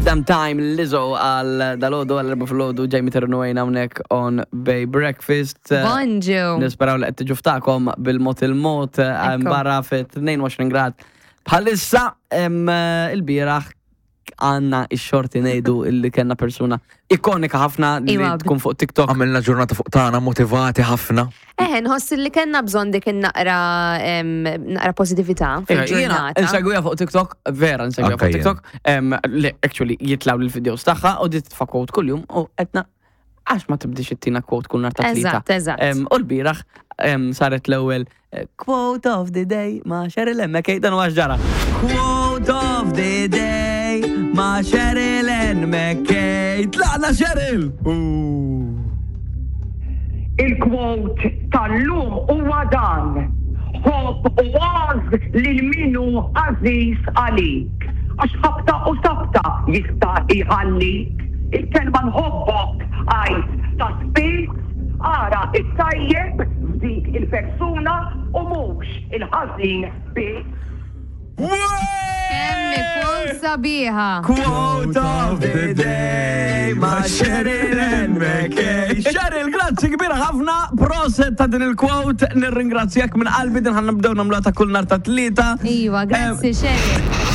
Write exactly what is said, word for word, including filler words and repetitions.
Damn Time, Lizzo għal dalgħodu, għal erbgħa filgħodu, Jamie Ternuajn hawnhekk on Bay Breakfast. Bonġu. Nisperaw li qed tiġu ftakom bil-mod il-mod Ekku. Barra fi tnejn u għoxrin grad. Bħalissa em, il-bieraħ għandna ix-xorti ngħidu illi kellna persuna ikonika ħafna li Iwa. tkun fuq TikTok. Għamilna ġurnata fuq tagħna, motivati ħafna. Eh, nħoss li kellna bżonn dik naqra em, naqra pozitività Iva, jiena fil-ġurnata. nsegwiha fuq TikTok, vera nsegwiha Anka fuq jien. TikTok, em, li actually jitilgħu l-videos tagħha u di titfa' quote kuljum u għedna għax ma tibdix ittina quote kull nhar ta' Tlieta. Eżatt, eżatt. Em, U l-bieraħ em, saret l-ewwel eh, quote of the day ma' Cheryl M. McKay, dan huwa ġara. Quote of the day ma' Cheryl N. McKay. Tlaqna, Cheryl! Il-quote tal-lum huwa dan: "Ħobb u għożż lil min hu għażiż għalik. Għax ħabta u sabta jista' jħallik. Il-kelma nħobbok għid ta' spiss, ara it-tajjeb f'dik il-persuna u mhux il-ħażin biss." Kemm ikun sabiħa. Quote of the day ma' Cheryl N. McKay. Cheryl, grazzi kbira ħafna. Prosit ta' din il-quote. Nirringrazzjak minn qalbi, din ħa nibdew nagħmluha ta' kull nhar ta' Tlieta. Iva, grazzi, Cheryl.